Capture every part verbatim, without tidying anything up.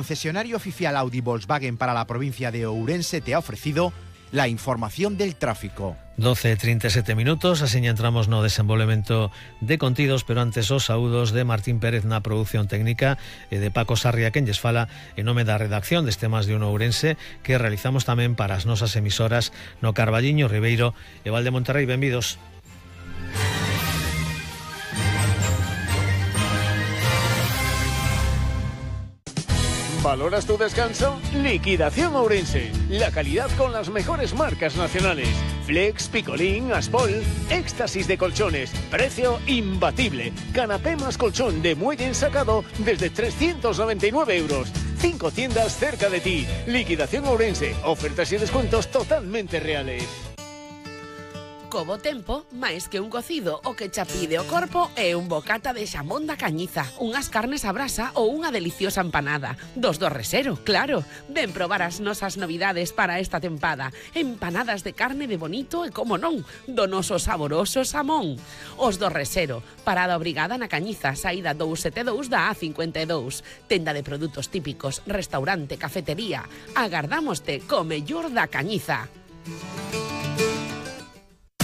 El concesionario oficial Audi Volkswagen para la provincia de Ourense te ha ofrecido la información del tráfico. doce e trinta e sete minutos, así entramos no desenvolvemento de contidos, pero antes os saúdos de Martín Pérez na produción técnica e de Paco Sarria, quen lles fala en nome da redacción deste Más de Uno Ourense, que realizamos tamén para as nosas emisoras no Carballiño, Ribeiro e Valde Monterrey. Benvidos. ¿Valoras tu descanso? Liquidación Ourense. La calidad con las mejores marcas nacionales. Flex, Picolín, Aspol, éxtasis de colchones. Precio imbatible. Canapé más colchón de muelle ensacado desde trescientos noventa y nueve euros. Cinco tiendas cerca de ti. Liquidación Ourense. Ofertas y descuentos totalmente reales. Co bo tempo, máis que un cocido, o que cha pide o corpo é un bocata de xamón da Cañiza, unhas carnes a brasa ou unha deliciosa empanada. Dos do Resero, claro. Ven probar as nosas novidades para esta tempada. Empanadas de carne de bonito e, como non, do noso saboroso xamón. Os do Resero, parada obrigada na Cañiza, saída dous sete dous da A cincuenta e dous. Tenda de produtos típicos, restaurante, cafetería. Agardámoste co mellor da Cañiza.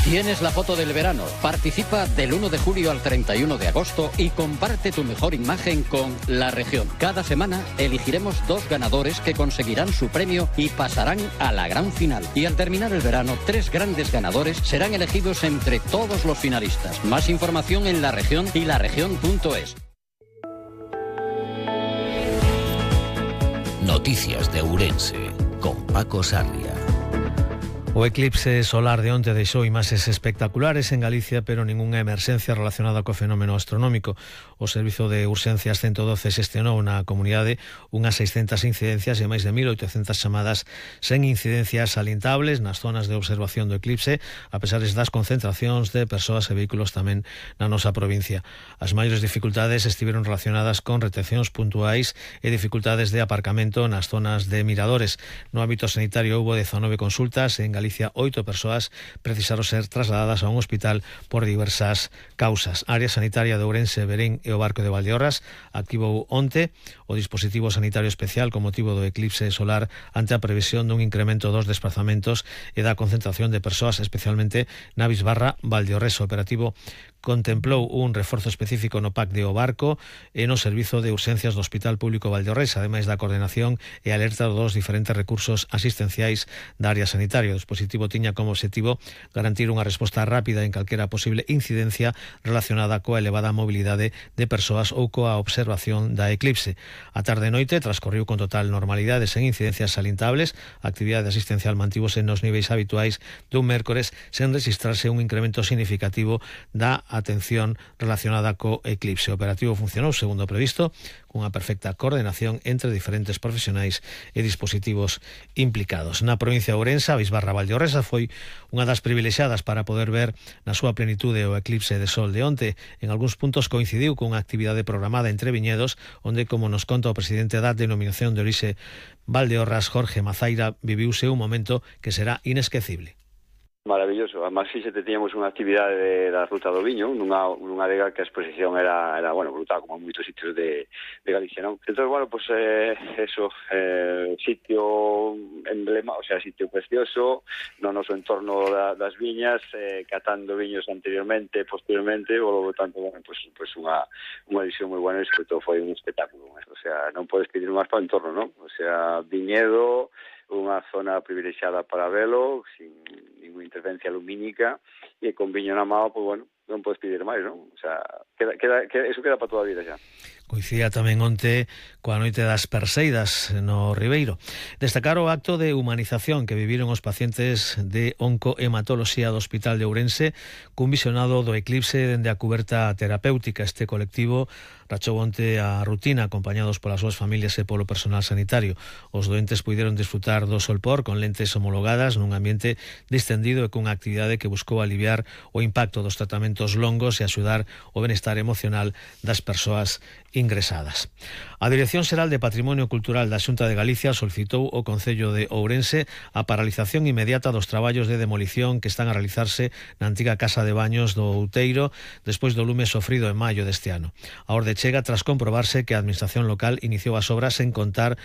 Tienes la foto del verano. Participa del uno de julio al treinta y uno de agosto y comparte tu mejor imagen con La Región. Cada semana elegiremos dos ganadores que conseguirán su premio y pasarán a la gran final. Y al terminar el verano, tres grandes ganadores serán elegidos entre todos los finalistas. Más información en La Región y laregion punto es. Noticias de Ourense con Paco Sarria. O eclipse solar de onte deixou imaxes espectaculares en Galicia, pero ningunha emerxencia relacionada co fenómeno astronómico. O Servizo de Urxencias ciento doce xestionou na comunidade unhas seiscentas incidencias e máis de mil oitocentas chamadas sen incidencias salientables nas zonas de observación do eclipse, a pesar das concentracións de persoas e vehículos tamén na nosa provincia. As maiores dificultades estiveron relacionadas con retencións puntuais e dificultades de aparcamento nas zonas de miradores. No ámbito sanitario houbo dezanove consultas en Galicia. Galicia, oito persoas precisaron ser trasladadas a un hospital por diversas causas. A área sanitaria de Ourense, Berén e o Barco de Valdeorras activou onte o dispositivo sanitario especial con motivo do eclipse solar ante a previsión dun incremento dos desplazamentos e da concentración de persoas, especialmente na Bisbarra Valdeorres. O operativo contemplou un reforzo específico no P A C de O Barco e no Servizo de Urxencias do Hospital Público Valdeorres, ademais da coordenación e alerta dos diferentes recursos asistenciais da área sanitaria. O dispositivo tiña como objetivo garantir unha resposta rápida en calquera posible incidencia relacionada coa elevada mobilidade de persoas ou coa observación da eclipse. A tarde e noite transcorriu con total normalidade sen incidencias salientables. A actividade asistencial mantívose nos niveis habituais dun mércores sen registrarse un incremento significativo da atención relacionada co eclipse. O operativo funcionou segundo o previsto, cunha perfecta coordenación entre diferentes profesionais e dispositivos implicados. Na provincia de Ourense, a Bisbarra Valdeorresa foi unha das privilexiadas para poder ver na súa plenitude o eclipse de sol de onte. En algúns puntos coincidiu cunha actividade programada entre viñedos, onde, como nos conta o presidente da denominación de orixe Valdeorras, Jorge Mazaira, viviuse un momento que será inesquecible. Maravilloso, además si se teníamos unha actividade de, da Ruta do Viño, nunha, nunha adega que a exposición era, era bueno, brutal, como en moitos sitios de, de Galicia, non? Entón, bueno, pues eh, eso, eh, sitio emblema, o sea, sitio precioso, no noso entorno da, das viñas, eh, catando viños anteriormente, posteriormente, o tanto, bueno, pues, pues unha, unha edición moi buena e sobre todo foi un espectáculo, o sea, non podes pedir máis para o entorno, non? O sea, viñedo, unha zona privilexiada para velo, sin ninguna intervencia lumínica, e con viño na mao, pues bueno, non podes pedir máis, non? O sea, queda, queda, queda, eso queda para toda a vida xa. Coincidía tamén onte coa noite das Perseidas no Ribeiro. Destacar o acto de humanización que viviron os pacientes de oncohematoloxía do Hospital de Ourense cun visionado do eclipse dende a cuberta terapéutica. Este colectivo rachou onte a rutina acompañados polas súas familias e polo personal sanitario. Os doentes puideron disfrutar do solpor con lentes homologadas nun ambiente distendido e cunha actividade que buscou aliviar o impacto dos tratamentos longos e axudar o benestar emocional das persoas ingresadas. A Dirección Xeral de Patrimonio Cultural da Xunta de Galicia solicitou ao Concello de Ourense a paralización inmediata dos traballos de demolición que están a realizarse na antiga Casa de Baños do Outeiro despois do lume sofrido en maio deste ano. A orde chega tras comprobarse que a Administración local iniciou as obras sen contar